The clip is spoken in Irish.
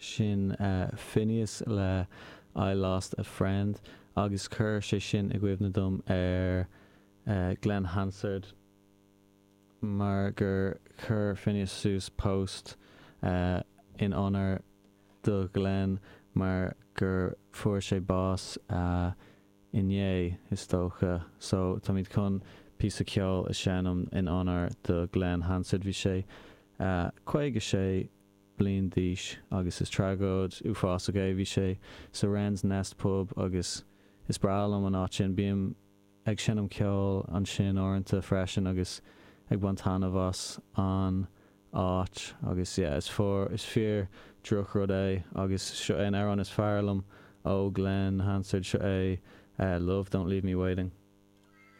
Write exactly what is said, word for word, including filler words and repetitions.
Sin Finneas le I Lost a Friend agus chuir sé sin i gcuimhne dom ar Glen Hansard mar gur chuir Finneas suas post in onóir do Ghlen mar gur fuair sé bás inné, is dócha. So táimid chun píosa ceoil a sheinm in onóir do Glen Hansard. Bhí sé caoga sé bliain d'aois agus is tragóid uafásach é. Bhí sé sa Wren's Nest Pub agus is breá liom an áit sin. Bím ag seinm ceoil ansin uaireanta freisin agus ag baint taitneamh as an áit agus yeah, is fíor is fíor drochrud é agus seo é an amhrán is fearr liom ó Glen Hansard seo é uh, Love Don't Leave Me Waiting.